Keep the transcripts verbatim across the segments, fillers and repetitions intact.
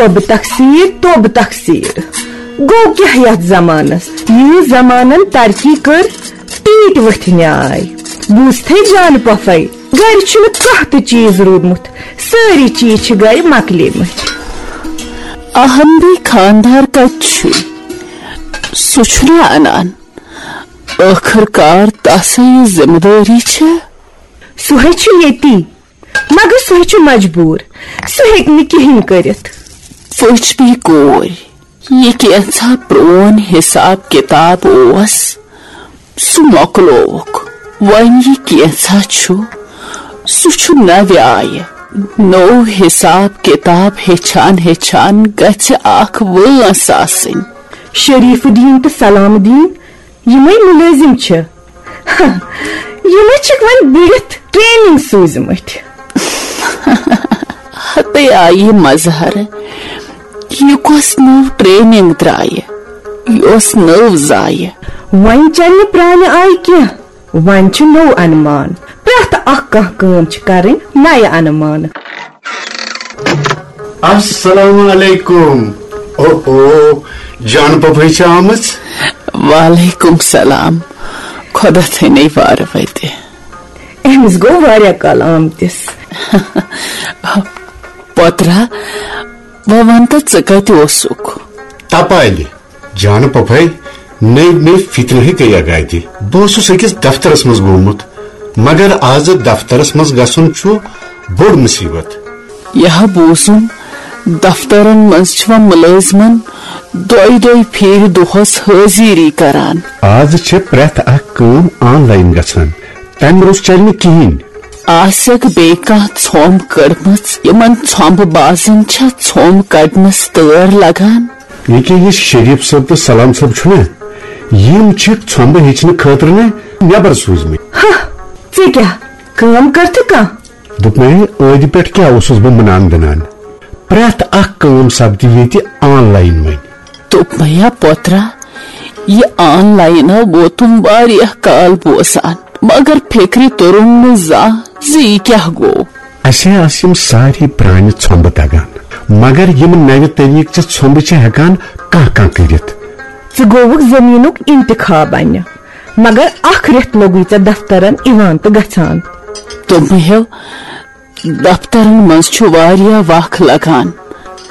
توبہٕ تقصیر، توبہٕ تقصیر۔ گوٚو کیٛاہ یتھ زمانس؟ یہِ زمانن ترقی کٔر، ٹیٖٹۍ ؤتھۍ نیاے۔ بوٗزتھٕے جان پۄپھے، گرِ چھُنہٕ کانٛہہ تہِ چیٖز روٗدمُت، سٲری چیٖز چھِ گرِ مۄکلیمٕتۍ۔ اہم بی خاندار کتہِ چھُ؟ سُہ چھُنہٕ انان۔ ٲخٕر کار تسے یہِ ذمہٕ دٲری چھےٚ۔ سُہ ہے چھُ ییٚتی، مگر سُہ ہے چھُ مجبوٗر، سُہ ہیٚکہِ نہٕ کِہیٖنۍ کٔرِتھ۔ وٕچھ بی کورِ، یہِ کینٛژھا پرٛون حساب کتاب اوس، سُہ مۄکلووُکھ۔ وۄنۍ یہِ کینٛژھا چھُ، سُہ چھُ نوِ آیہِ۔ نوٚو حساب کتاب ہیٚچھان ہیٚچھان گژھِ اکھ وٲنٛس آسٕنۍ۔ شریف الدین تہٕ سلام الدین یِمے مُلٲزِم چھِ۔ یِمے چھِکھ وۄنۍ بٔڑِتھ ٹریننگ سوٗزمٕتۍ۔ ہتے آیہِ مظہر، یہِ کۄس نٔو ٹریننگ درٛایہِ، یۄس نٔو زایہِ؟ وۄنۍ چلہِ نہٕ پرٛانہِ آیہِ کینٛہہ، وۄنۍ چھُ نوٚو انمان۔ پرٛٮ۪تھ اکھ کانٛہہ کٲم چھِ کرٕنۍ نَیہِ انمانہٕ۔ السلام علیکم۔ او او، جان پۄپھے چھِ آمٕژ۔ وعلیکم سلام۔ خۄدا تھٲینَے وارٕ وَتہِ۔ أمِس گوٚو واریاہ کال آمتِس۔ پۄترا، وۄنۍ وَن تہٕ، ژٕ کَتہِ اوسُکھ؟ تپالہِ۔ جان پۄپھے، نٔوۍ نٔوۍ فِتنہٕ ہے گٔیہ گتہِ۔ بہٕ اوسُس أکِس دفترس منٛز گوٚمُت، مگر آز دفترس منٛز گژھُن چھُ بوٚڑ مُصیبت۔ یہِ ہا بوٗزُم، دفترن منٛز چھِ وۄنۍ مُلٲزمن دۄیہِ دۄیہِ پھِرِ دۄہس حٲضِری کران۔ آز چھِ پرٛٮ۪تھ اکھ کٲم آن لاین گژھان، تمہِ روٚس چلہِ نہٕ کِہیٖنۍ۔ آسٮ۪کھ بیٚیہِ کانٛہہ ژھۄمب کٔڑمٕژ؟ یِمن ژھۄمبہٕ بازن چھا ژھۄمب کڑنس تٲر لگان؟ ییٚکیٛاہ یہِ شریف صٲب تہٕ سلام صٲب چھُنہ، یِم چھِکھ ژھۄمبہٕ ہیٚچھنہٕ خٲطرٕ نہ نٮ۪بر سوٗزمٕتۍ۔ ہہ، ژےٚ کیٛاہ کٲم کٔرتھٕ کانٛہہ؟ دوٚپمَے، عٲدِ پٮ۪ٹھ کیٛاہ اوسُس بہٕ مُنان دِنان؟ پرٛٮ۪تھ اکھ کٲم سپدِ ییٚتہِ آن لاین وۄنۍ۔ دوٚپمَے یا پوترا، یہِ آن لاین ووتُم واریاہ کال بوزان، مگر فِکرِ توٚرُم نہٕ زانٛہہ زِ یہِ کیٛاہ گوٚو۔ اسہِ ہے آسہٕ یِم سارے پرٛانہِ ژھۄمبہٕ دگان، مگر یِم نوِ طریٖقہٕ چہِ ژھۄمبہٕ چھِ ہٮ۪کان کانٛہہ کانٛہہ کٔرِتھ۔ ژٕ گوٚوُکھ زٔمیٖنُک انتخاب اننہِ، مگر اکھ رٮ۪تھ لوٚگُے ژےٚ دفترن یِوان تہٕ گژھان۔ دوٚپمَے ہیو، دفترن منٛز چھُ واریاہ وق لگان،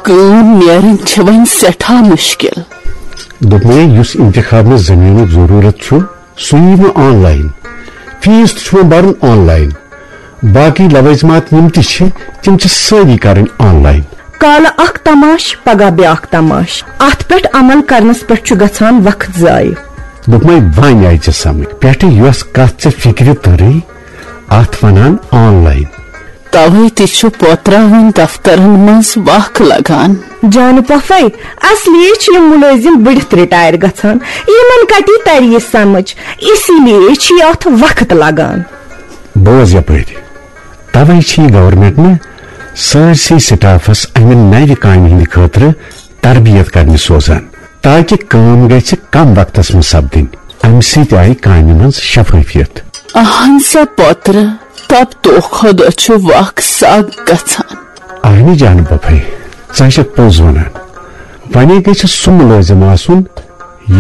کٲم نیرٕنۍ چھِ وۄنۍ سٮ۪ٹھاہ مُشکل۔ دوٚپمَے، یُس انتخاب مےٚ زٔمیٖنُک ضروٗرت چھُ، سُہ یی مےٚ آن لاین۔ فیس تہِ چھُ مےٚ بَرُن آن لاین۔ باقٕے لوٲزمات یِم تہِ چھِ، تِم چھِ سٲری کَرٕنۍ آن لاین۔ کالہٕ اکھ تماش، پگاہ بیٛاکھ تماش۔ اتھ پٮ۪ٹھ عمل کرنس پٮ۪ٹھ چھُ گژھان وقت ضایع۔ دوٚپمَے، وۄنۍ آیہِ ژےٚ سمجھ۔ پٮ۪ٹھٕ یۄس کتھ ژےٚ فِکرِ توٚرٕے، اتھ ونان آن لاین۔ توے تہِ چھُ پوترا وۄنۍ دفترن منٛز وق لگان۔ جانہٕ پۄپھے، اصلی چھِ یِم مُلٲزِم بٔڑِتھ رِٹایر گژھان، یِمن کتی ترِ یہِ سمجھ، اسی لیے چھِ یہِ اتھ وقت لگان۔ بوز یپٲرۍ، توے چھِ یہِ گورنمنٹ نہٕ سٲرسٕے سٹافس امہِ نوِ کامہِ ہٕنٛدِ خٲطرٕ تربیت کرنہِ سوزان، تاکہ کٲم گژھِ کم وقتس منٛز سپدٕنۍ۔ امہِ سۭتۍ آیہِ کامہِ منٛز شفٲفیت۔ اہن سا پوترٕ، تب دۄہ کھۄتہٕ دۄہ چھُ وق سگ گژھان۔ اہنہِ جانہٕ پۄپھے، ژٕ چھکھ پوٚز ونان۔ ونے گژھِ سُہ مُلٲزِم آسُن،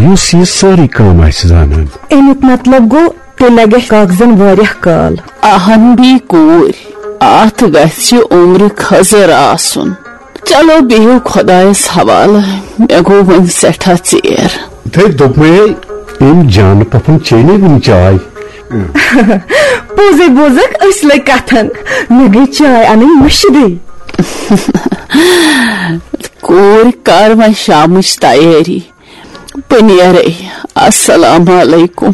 یُس یہِ سٲرٕے کٲم آسہِ زانان۔ امیُک مطلب گوٚو، تیٚلہِ لگہِ اَسہِ کاغذن واریاہ کال۔ اہن بی کوٗرۍ، اتھ گژھِ عمرِ خضر آسُن۔ چلو بِہِو خۄدایس حوالہٕ، مےٚ گوٚو وۄنۍ سٮ۪ٹھاہ ژیر۔ تھے دوٚپمَے، أمۍ جانہٕ پۄپھن چیٚیہِ نہٕ وُنہِ چاے۔ پوٚزے بوزکھ، أسۍ لٔگۍ کتھن، مےٚ گٔے چاے انٕنۍ مٔشِدٕے۔ کوٗرۍ، کر وۄنۍ شامٕچ تیٲری، بہٕ نیرے۔ السلام علیکم۔